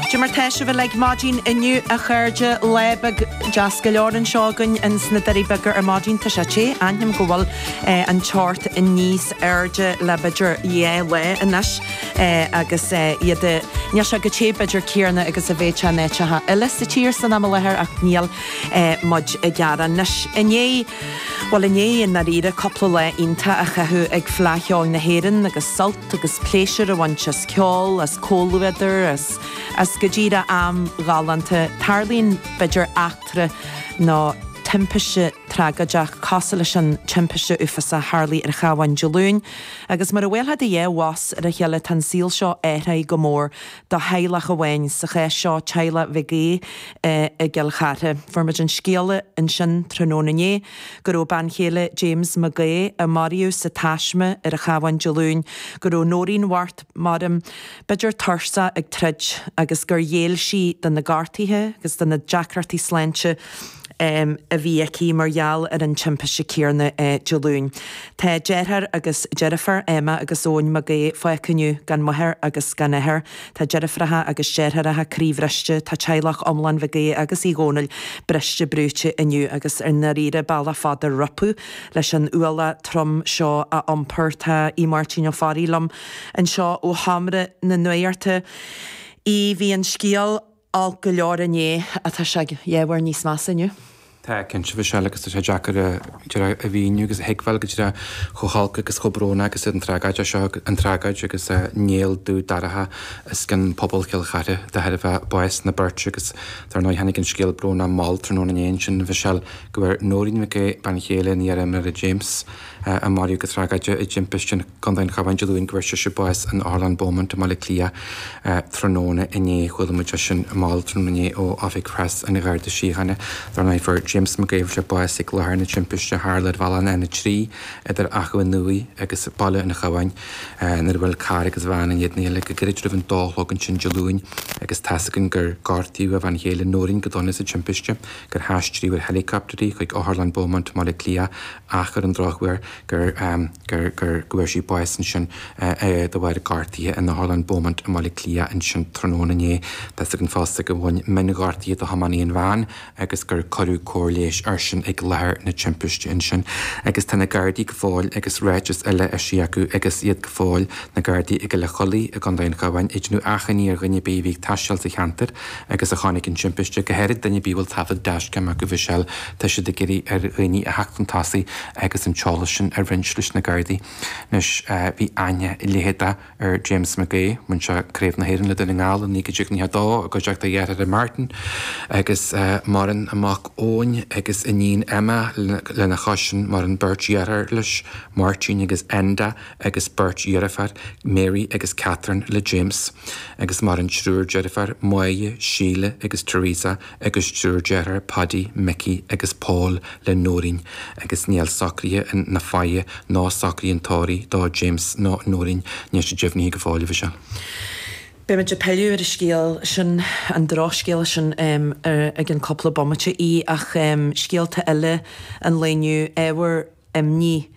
Cad é mar tá sibh uilig maidin inniu a chairde, lá beag deas go leor anseo againn ins na Doirí Beaga ar maidin. Tá sé te, aithním go bhfuil an teocht níos airde le b'fhéidir dhá lá anois agus iad, níl sé chomh te b'fhéidir céanna agus a bheadh sé in áiteacha eile sa tír san am i láthair ach níl muid ag gearán. Anois, inné, bhuel inné i ndáiríre cúpla lá iontach a chaitheamh ag Fleadh Cheoil na hÉireann agus sult agus pléisiúr a bhaint as ceol, as comhluadar, as, as go díreach am ghalánta. Tarlaíonn, b'fhéidir, eachtra nó timpiste tragóideach cosúil leis an timpiste uafásach a tharlaigh ar an Chabhán Dé Luain. Agus mar a bhuailfeá do dhá bhos ar a chéile tá an saol seo athraithe go mór do theaghlach amháin, sa chás seo teaghlach Mhig Aoidh i gCill Chartha. Fuair muid an scéala ansin tráthnóna inné go raibh bean chéile James Mac Aoidh, a maraíodh sa taisme ar an Chabhán Dé Luain, go raibh Nóirín Mhart Mairim, b'fhéidir tuirseach ag troid agus gur ghéill sí do na gortuithe agus do na deacrachtaí sláinte a bhí aici mar gheall ar an timpiste céanna Dé Luain. Tá deartháir agus deirfiúr Emma agus Eoin Mac Aoidh fágtha inniu gan máthair agus gan athair. Tá deirfiúracha agus deartháireacha croíbhriste, tá teaghlach iomlán Mhig Aoidh agus Uí Dhónaill briste brúite inniu agus i ndáiríre bealach fada rompu leis an ualach trom seo a iompar. Tá Aodh Máirtín Ó Fearraigh liom anseo ó sheomra na nuachta. Aodh, bhí an scéal olc go leor inné ach tá sé dhá uair níos measa inniu. Tá, cinnte, Michelle, agus tá sé deacair a, díreach a mhíniú agus a thuigbheáil go díreach chomh holc agus chomh brónach agus an tragóid seo, an tragóid agus néal dubh dorcha os cionn pobal Chill Chartha de thairbhe bás na beirte agus dar ndóigh tháinig an scéal brónach mall tráthnóna inné ansin, Michelle, go bhfuair Nóirín Mhic Aoidh, bean chéile an iar-imreora James, a maraíodh go tragóideach i dtimpiste i gContae an Chabháin Dé Luain go bhfuair sise bás in Otharlann Beaumont i mBaile Átha Cliath tráthnóna inné. Chuala muid é sin mall tráthnóna inné ó Oifig Preas an Gharda Síochána. Dar ndóigh fuair James Mac Aoidh, fuair sé bás ag láthair na timpiste a tharla ar bhealach an N3 idir Achadh an Iúir agus Baile an Chabháin nuair a bhuail carr agus veain in éadan a chéile go gairid roimh an dó a chlog ansin Dé Luain agus tá's againn gur gortaíodh a bhean chéile Nóirín go dona sa timpiste, gur haistríodh ar helicopter í chuig Otharlann Beaumont i mBaile Átha Cliath ach ar an drochuair gur gur gur go bhfuair sí bás ansin de bharr gortuithe in Otharlann Beaumont i mBaile Átha Cliath ansin tráthnóna inné. Tá's againn fosta gur bhain mionghortuithe do thiománaí an veain agus gur cuireadh cóir leighis airsean ag láthair na timpiste ansin. Agus tá na Gardaí go fóill agus ráiteas eile eisithe acu agus iad go fóill, na Gardaí i gCill Chollaigh i gContae an Chabháin, ag déanamh achainí ar dhuine ar bith a bhí ag taisteal sa cheantar agus a chonaic an timpiste, go háirid duine ar bith a bhfuil taifead dashcam acu, Michelle, tá siad ag iarraidh ar dhaoine a theacht chun tosaigh agus an t-eolas sin a roinnt leis na Gardaí. Anois, bhí aithne leitheadach ar James Mac Aoidh, bhain sé Craobh na hÉireann le Dún na nGall i 1992 i gcuideachta a dhearthára Martin agus maireann a mhac Eoin agus iníon Emma lena chois sin, maireann beirt dheartháir leis, Máirtín agus Enda agus beirt dheirfiúr, Mary agus Catherine le James agus maireann triúr deirfiúr, Máire, Síle agus Teresa agus triúr deartháir, Paddy, Mickey agus Paul le Nóirín agus níl socruithe na faire ná socruithe an tórraimh do James ná Nóirín, níl sé deimhnithe go fóill, a Mhichelle. Beidh muid ag pilleadh ar an scéal sin, an drochscéal sin, i gceann cúpla bomaite í ach scéalta eile an lae inniu, ábhar imní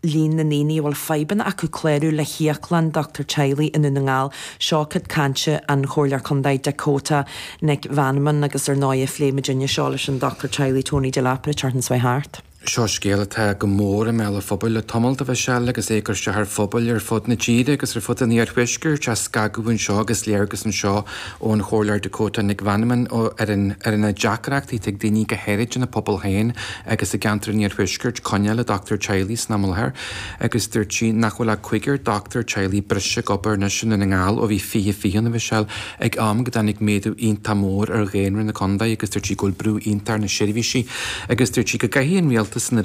líon na ndaoine a bhfuil fadhbanna acu clárú le híoclann dochtúir teaghlaigh i nDún na nGall. Seo cuid cainte an Chomhairleoir Contae Dakota Nic Mheanman agus ar ndóighe phléigh muidinne seo leis an dochtúir teaghlaigh Tony Dell'Apera an tseachtain seo thart. Seo scéal atá go mór i mbéal an phobail le tamall, a Mhichelle, agus é ag cur isteach ar phobail ar fud na tíre agus ar fud an iarthuaiscirt, á scagadh anseo agus léargas anseo ón Chomhairleoir Dakota Nic Mheanman ar an ar na deacrachtaí atá ag daoine go háirid ina bpobail féin agus i gceantar an iarthuaiscirt coinneáil le dochtúir teaghlaigh san am i láthair agus dúirt sí nach bhfuil ach cúigear dochtúir teaghlaigh breise ag obair anois i nDún na nGall ó bhí 2020 ann, a Mhichelle, ag am go dtáinig méadú iontach mór ar dhaonra na contae agus dúirt sí go bhfuil brú iontach ar na seirbhísí agus dúirt sí go gcaithfidh an rialtas an.